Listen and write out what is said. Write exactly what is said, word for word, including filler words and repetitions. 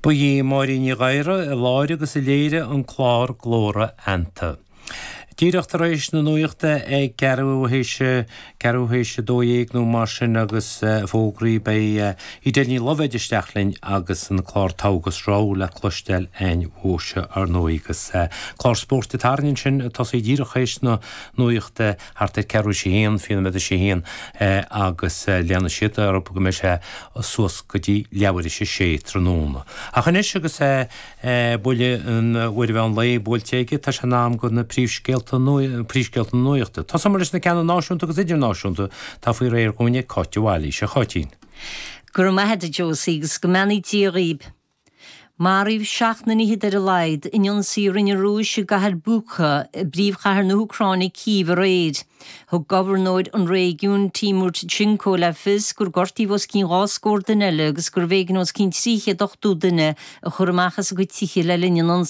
Ba í Máirín Ní Ghadhra a láithrigh agus a léirigh an clár Glóra Fheannta. Díreach tar éis na nuachta ag ceathrú théis ceathrú théis a dó dhéag nó mar sin agus fógraí beidh Edel Ní Loibhéad isteach linn agus an clár Togha agus Rogha le cloisteáil againn uaithe ar ndóigh agus clár spóirt atá ansin tosaí díreach théis na nuachta thart ar ceathrú sé haon fiche nóiméad sé haon agus leanfaidh siad ar go mbeidh sé suas go dtí leathuair théis a sé tráthnóna. Ach anois agus buille an uair mheán lae buailte aige tá sé in am do na príomhscéalta príomhscéalta nuachta. Tosóimid leis na ceanna náisiúnta agus idirnáisiúnta tá faoi réir dhúinn ag Cáit de Bhailís a Cháitín. Go raibh maith agat Josie agus go mbeannaí Dia dhaoibh. Maraíodh seacht nduine ar a laghad in ionsaí a rinne an Rúis i gcathair Bucha i bpríomhchathair na hÚcráine Cív aréir. Thug gobharnóir an réigiúin Timur Tkachenko le fios gur gortaíodh os cionn dhá scór duine eile agus gurbh éigean os cionn trí chéad ochtó duine a chur amach as a gcuid tithe le linn an